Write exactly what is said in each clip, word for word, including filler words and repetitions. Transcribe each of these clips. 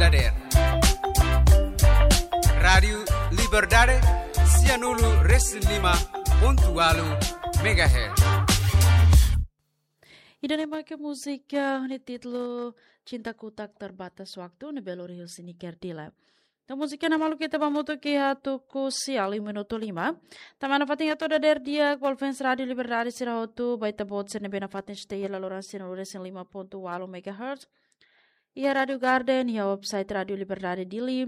Dadeer. Rádiu Liberdade, sianulu resin lima pontu walu megahertz. Ida-ne'e mak múzika ho títulu Cintaku Tak Terbatas Waktu, ne'ebé lori husi Niker Dila. Entaun múzika ne'e maluk ita ba hamutuk iha tuku sia liu minutu lima. Tanba nafatin hato'o dadeer di'ak ba ouvinte Rádiu Liberdade sira hotu, ba ita-boot sira ne'ebé nafatin stay iha laloran sianulu resin lima pontu walu megahertz. Iha Rádiu Garden, iha website Rádiu Liberdade Dili.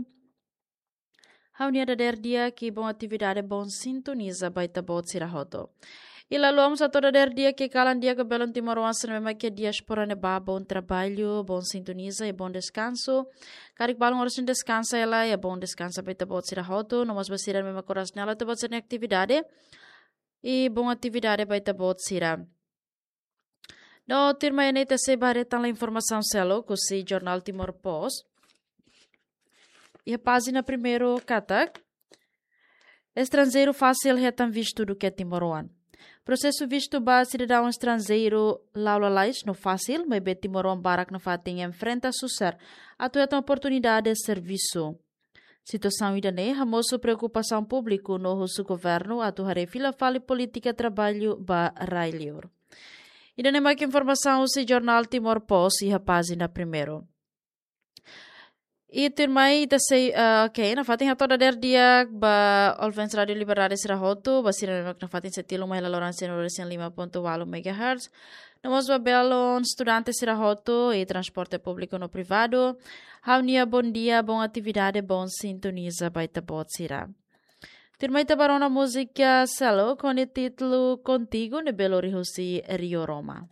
Ha'u-nia dadeer di'ak i bom atividade, bom sintoniza ba ita-boot sira hotu. I la haluha mós hato'o dadeer di'ak i kalan di'ak ba belun timoroan sira ne'ebé mak iha diáspora ne'ebá, bom trabalho, bom sintoniza i bom deskansu. Karik balun oras ne'e deskansa hela, i bom deskansa ba ita-boot sira hotu, no mós ba sira ne'ebé mak oras ne'e la'o iha ita-boot sira-nia atividade. I bom atividade ba ita-boot sira. No tuirmai ne'e ita sei ba haree tan informasaun seluk husi jornál Timor Post. Iha pájina primeiru katak, estranjeiru fasil hetan vistu duké timoroan. Prosesu vistu ba sidadaun estranjeiru la'o lalais no fasil, maibé timoroan barak nafatin enfrenta susar atu hetan oportunidade servisu. Situasaun ida-ne'e hamosu preokupasaun públiku no husu governu atu haree fila fali polítika traballu ba rai-li'ur. Ida-ne'e mak informasaun husi jornál Timor Post iha pájina primeiru. I tuirmai ita sei, ah, oke, nafatin hato'o dadeer di'ak ba ouvinte Rádiu Liberdade sira hotu, ba sira ne'ebé mak nafatin sei tilun mai iha laloran sianulu resin lima pontu walu megahertz. No mós ba belun estudante sira hotu i transporte públiku no privadu. Ha'u-nia bom dia, bom atividade, bom sintoniza ba ita-boot sira. Tuirmai ita ba rona múzika seluk ho títulu Contigo, ne'ebé lori husi Rio Roma.